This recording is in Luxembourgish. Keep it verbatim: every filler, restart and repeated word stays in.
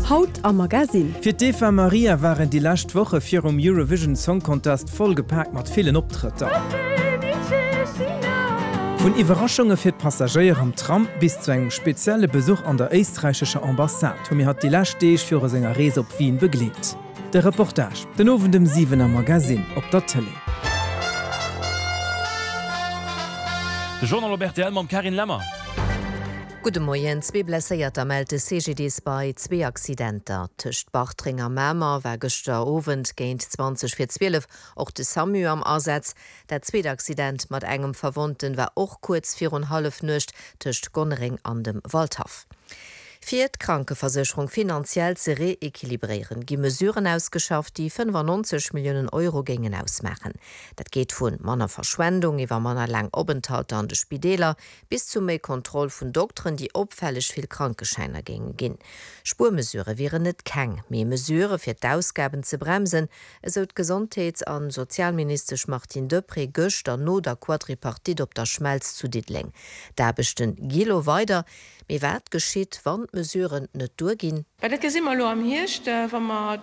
Haut am Magasinn. Fir d'Eva Marija waren déi lescht Woche virum Eurovision Song Contest vollgepaakt mat villen Optrëtter. Vun Iwwerraschunge fir d'Passagéier am Tram bis zu engem spezielle Besuch an der éisträichescher Ambassade hu mir hatt déi lescht Deeg viru senger Rees op Wien begleet. De Reportage den Owend um siwen am Magasinn op der Tëlee. De Journal op rtl mam Carine Lemmer. Gudde Moien, Zwee Blesséierter mellt de CGDIS bei zwee Accidenter. Tëscht Bartreng a Mamer war gëschter Owend géint zwanzeg vir zwielef och de Samu am Asaz. Dat zweet Accident mat engem Verwonnten war och kuerz virun Hallefnuecht tëscht Gonnereng an dem Waldhaff. Fir d'Krankeversécherung finanziell ze reequilibréieren, gi Mesuren ausgeschafft, déi fënnefannonzeg Milliounen Euro géingen ausmaachen. Dat geet vu manner Verschwendung iwwer manner laang Openthalter an de Spideeler bis zu méi Kontroll vun Dokteren, déi opfälleg vill Krankeschäiner géinge ginn. Spuermesurë wieren net keng, mee Mesurë fir d'Ausgaben ze bremsen, esou d'Gesondheets a Sozialministesch Martine Deprez gëschter no der Quadripartite op der Schmelz zu Diddeleng. D'Aarbechte gi lo weider. Mee wat geschitt, wann d'Mesuren net duerginn? Well dat gesi mer elo am Hierscht, wa mer